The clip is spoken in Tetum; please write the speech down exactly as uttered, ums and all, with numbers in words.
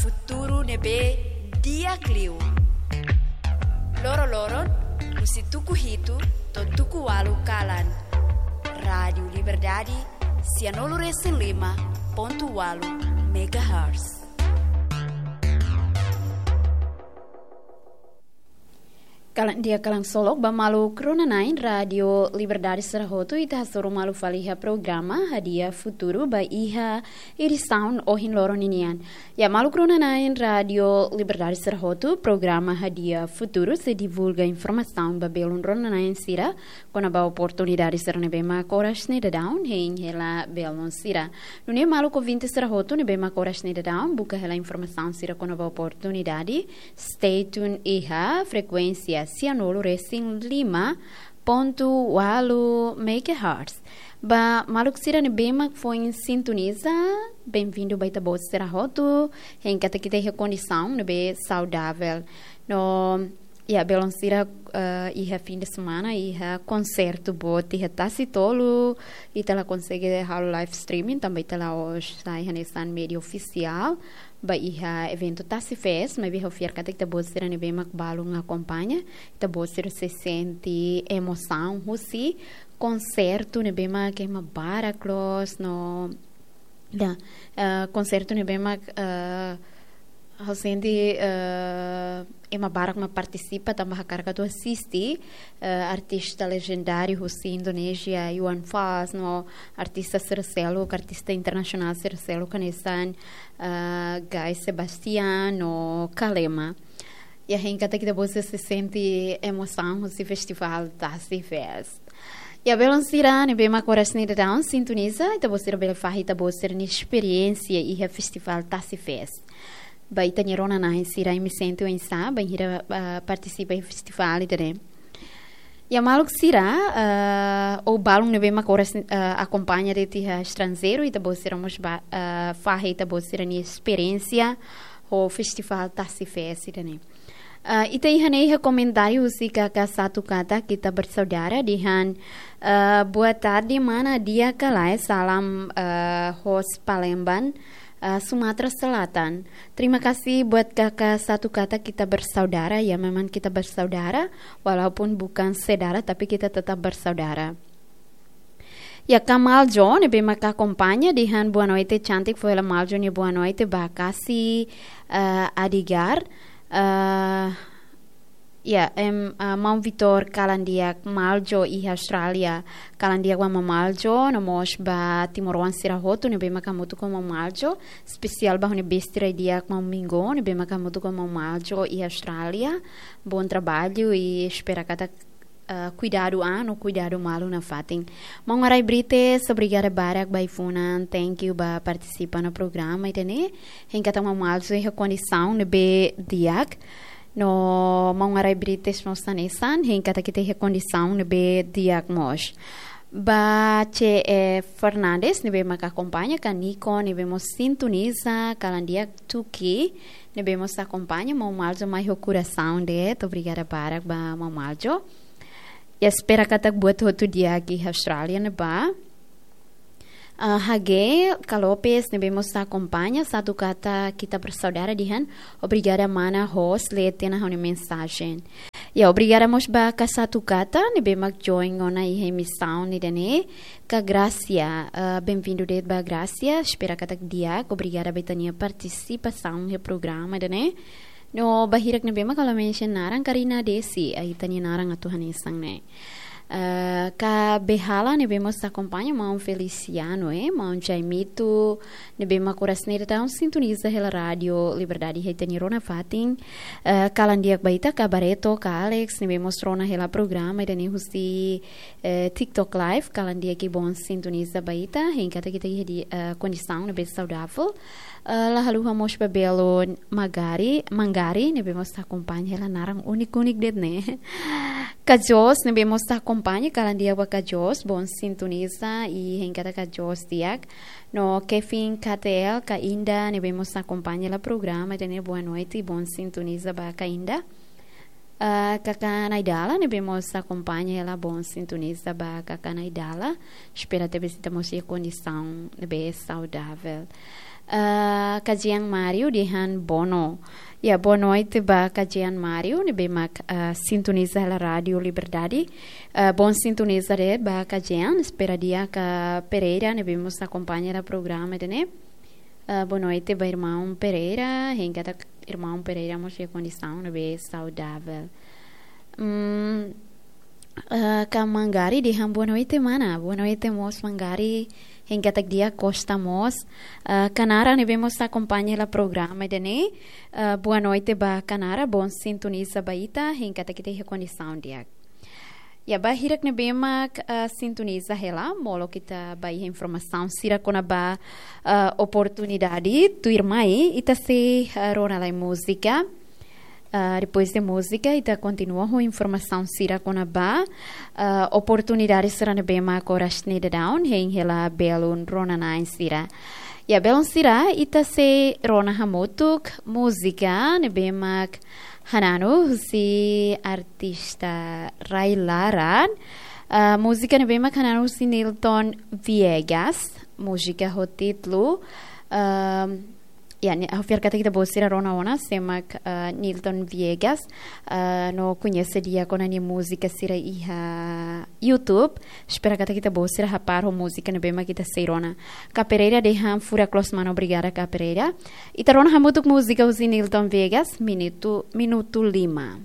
Futuru ne'ebé di'ak liu. Loroloron, husi tuku hitu to'o tuku ualu kalan. Rádiu Liberdade, sianulu resin lima pontu ualu megahertz. Kalan di'ak, kalan solok ba maluk rona-na'in Rádiu Liberdade sira hotu, ita hasoru malu fali iha programa Hadi'a Futuru ba iha edisaun ohin loron ninian. Ya, maluk rona-na'in Rádiu Liberdade sira hotu, programa Hadi'a Futuru sei divulga informasaun ba belun rona-na'in sira kona-ba oportunidade sira ne'ebé mak oras ne'e daudaun hein hela belun sira. Nune'e maluk ouvinte sira hotu ne'ebé mak oras ne'e daudaun buka hela informasaun sira kona-ba oportunidade, stay tune iha frekuénsia sianulu resin lima pontu ualu megahertz. Ba maluk sira ne'ebé mak foin sintoniza, benvindu ba ita-boot sira hotu, hein katak ita iha kondisaun ne'ebé saudavel. No, ya, belun sira, eh, iha fin de semana iha konsertu boot iha Tasitolu, ita la konsege halo live streaming, tanba ita la'ós sai hanesan média ofisiál ba iha eventu Tasi Fest, maibé ha'u fiar katak ita-boot sira ne'ebé mak balun akompaña, ita-boot sira sei sente emosaun husi konsertu ne'ebé mak ema barak loos no, ya, eh, konsertu ne'ebé mak, eh, ha'u sente, eh, ema barak mak partisipa tanba hakarak atu asiste, eh, artista lejendáriu husi Indonézia, Iwan Fals, no artista sira seluk, artista internasionál sira seluk hanesan, eh, Guy Sebastian no Kalema. Ya, hein katak ita-boot sira sei sente emosaun husi festivál Tasi Fest. Ya, belun sira ne'ebé mak oras ne'e daudaun sintoniza, ita-boot sira bele fahe ita-boot sira-nia esperiénsia iha festivál Tasi Fest. Ba ita-nia rona-na'in sira, imi sente oinsá bainhira, ah, partisipa iha festivál ida-ne'e? Ya, maluk sira, ah, ou balun ne'ebé mak oras, ah, akompaña de'it iha estranjeiru, ita-boot sira mós ba, ah, fahe ita-boot sira-nia esperiénsia ho festivál Tasi Fest ida-ne'e. Ah, ita iha ne'e iha komentáriu husi Kaka Satu Kata Kita Bersaudara dehan, ah, "Boa tarde, mana, di'ak ka lae, salam, ah, hosi Palembang, ah, Sumatera Selatan. Terima kasih buat Kaka Satu Kata Kita Bersaudara, ya memang kita bersaudara, walaupun bukan sedara, tapi kita tetap bersaudara." Ya, Kamal Jo ne'ebé mak akompaña dehan boa noite, cantik, fó hela Maljo nia boa noite ba Kasi, eh, Adigar. Eh, ya, em, eh, Maun Vitor, kalan di'ak Maljo iha Austrália. Kalan di'ak ba Maun Maljo, no mós ba timoroan sira hotu ne'ebé mak hamutuk ho Maun Maljo. Espesiál ba ha'u-nia besti rai di'ak Maun Mingo ne'ebé mak hamutuk ho Maun Maljo iha Austrália. Bom trabalho i espera katak, ah, kuidadu an no kuidadu malu nafatin. Maun Arai Brites, obrigada barak ba ai-funan, thank you ba partisipa iha programa ida-ne'e. Hein katak Maun Maljo iha kondisaun ne'ebé di'ak. No Maun Arai Brites mós hanesan, hein katak ita iha kondisaun ne'ebé di'ak mós. Ba C E Fernandes ne'ebé mak akompaña, Kaniko ne'ebé mós sintoniza, kalan di'ak Tuki ne'ebé mós akompaña, Maun Maljo mai ho korasaun de'it, obrigada barak ba Maun Maljo. Ya, espera katak buat hotu di'ak iha Austrália ne'ebá. Ah, Hage Kalopes ne'ebé mós akompaña, Satu Kata Kita Bersaudara dehan, obrigada mana host, lee tiha ona ha'u-nia mensajen. Ya, obrigada mós ba Kaka Satu Kata ne'ebé mak join ona iha emisaun ida-ne'e. Kak Gracia, eh, benvindu de'it ba Gracia, espera katak di'ak, obrigada ba ita-nia partisipasaun iha programa ida-ne'e. No ba hirak ne'ebé mak ha'u la mention naran, Karina Desi, eh, ita-nia naran atu hanesan ne'e. Eh, Kak Behala ne'ebé mós akompaña, Maun Feliciano, eh, Maun Jaimito, ne'ebé mak oras ne'e daudaun sintoniza hela Rádiu Liberdade iha ita-nia rona fatin. Eh, kalan di'ak ba ita, Kak Bareto, Kak Alex, ne'ebé mós rona hela programa ida-ne'e husi, eh, TikTok Live, kalan di'ak i bom sintoniza ba ita, hein katak ita iha di, eh, kondisaun ne'ebé saudavel. Eh, la haluha mós ba belun Magari, Mangari, ne'ebé mós akompaña hela, naran úniku-úniku de'it ne'e. Kak Jos ne'ebé mós akompaña, kalan di'ak ba Kak Jos, bom sintoniza i hein katak Kak Jos di'ak. No Kevin K T L, Kak Inda, ne'ebé mós akompaña hela programa ida-ne'e, boa noite, bom sintoniza ba Kak Inda. Ah, Kaka Naidala ne'ebé mós akompaña hela, bom sintoniza ba Kaka Naidala. Espera tebes ita mós iha kondisaun ne'ebé saudavel. Ah, kajian Mario dehan bono. Ya, boa noite ba kajian Mario, ne'ebé mak, ah, sintoniza hela Rádio Liberdade. Ah, bom sintoniza de'it ba kajian, espera di'ak Pereira, ne'ebé mós akompaña hela programa ida-ne'e. Ah, boa noite ba irmaun Pereira, hein katak irmaun Pereira mós iha kondisaun ne'ebé saudável. Hmm, ah, ka Mangari dehan boa noite, mana. Boa noite mós Mangari, hein katak di'ak Costa mós. Ah, Kanara ne'ebé mós akompaña hela programa ida-ne'e. Ah, boa noite ba Kanara, bom sintoniza ba ita, hein katak ita iha kondisaun di'ak. Ya, ba hirak ne'ebé mak, ah, sintoniza hela, molok ita ba iha informasaun sira kona-ba, ah, oportunidade tuirmai, ita sei, ah, rona lai múzika. Ah, depois de múzika, ita kontinua ho informasaun sira kona-ba, ah, oportunidade sira ne'ebé mak oras ne'e daudaun hein hela belun rona-na'in sira. Ya, belun sira, ita sei rona hamutuk múzika ne'ebé mak hananu husi artista rai-laran. Ah, múzika ne'ebé mak hananu husi Nilton Viegas, múzika ho títulu, ah, ya, ne'e, ha'u fiar katak ita-boot sira rona ona sé mak, ah, Nilton Viegas, ah, no koñese di'ak ona nia múzika sira iha YouTube. Espera katak ita-boot sira hapar ho múzika ne'ebé mak ita sei rona. Ka Pereira dehan furak loos, mana, obrigada ka Pereira. Ita rona hamutuk múzika husi Nilton Viegas, minutu, minutu lima.